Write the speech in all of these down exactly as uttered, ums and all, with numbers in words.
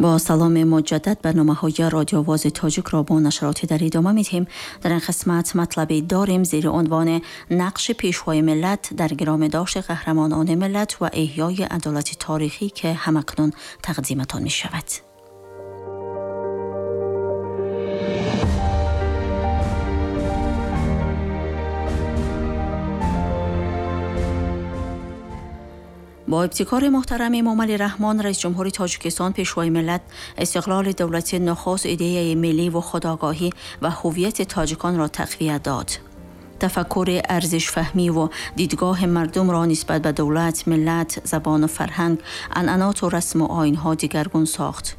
با سلام مجدد برنامه های رادیو آواز تاجیک را با نشرات در ادامه میدهیم. در این قسمت مطلبی داریم زیر عنوان نقش پیشوای ملت در گرامی داشت قهرمانان ملت و احیای عدالت تاریخی که همکنون تقدیمتان می شود. با ابتکار محترم امامعلی رحمان رئیس جمهوری تاجیکستان، پیشوای ملت، استقلال دولت نخست ایده ملی و خودآگاهی و هویت تاجیکان را تقویت داد. تفکر ارزش فهمی و دیدگاه مردم را نسبت به دولت، ملت، زبان و فرهنگ، عنعنات و رسم و آیین‌ها دیگرگون ساخت.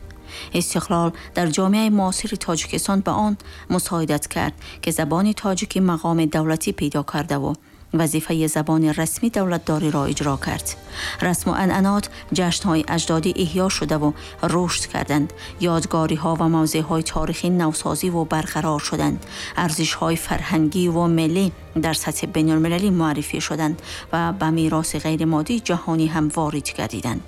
استقلال در جامعه معاصر تاجیکستان به آن مساعدت کرد که زبان تاجیکی مقام دولتی پیدا کرده و وظیفه زبان رسمی دولتداری را اجرا کرد. رسم و عنعنات، جشن‌های اجدادی احیا شده و رشد کردند. یادگاری‌ها و موضع‌های تاریخی نوسازی و برقرار شدند. ارزش‌های فرهنگی و ملی در سطح بین‌المللی معرفی شدند و به میراث غیرمادی جهانی هم وارد گردیدند.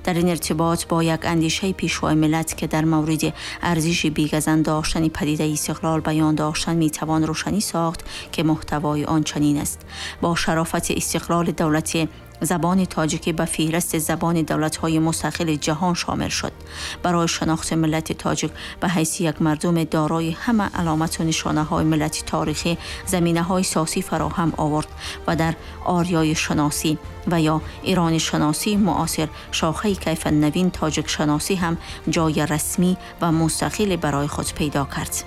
در این ارتباط با یک اندیشه پیشوای ملت که در مورد ارزش بیگزند داشتن پدیده استقلال بیان داشتن میتوان روشنی ساخت که محتوای آن چنین است: با شرافت استقلال دولت، زبان تاجیکی به فهرست زبان دولت‌های مستقل جهان شامل شد. برای شناخت ملت تاجیک به حیث یک مردم دارای همه علامت و نشانه‌های ملت تاریخی زمینه‌های سیاسی فراهم آورد و در آریای شناسی و یا ایران شناسی معاصر شاخه کیف نوین تاجیک شناسی هم جای رسمی و مستقل برای خود پیدا کرد.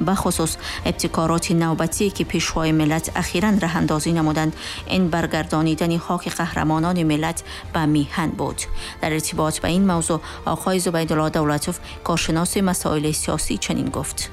به خصوص ابتکارات نوبتی که پیشوای ملت اخیراً راه اندازی نمودند، این برگردانیدن خاک قهرمانان ملت به میهن بود. در ارتباط به این موضوع آقای زبیدالله دولتوف، کارشناس مسائل سیاسی، چنین گفت: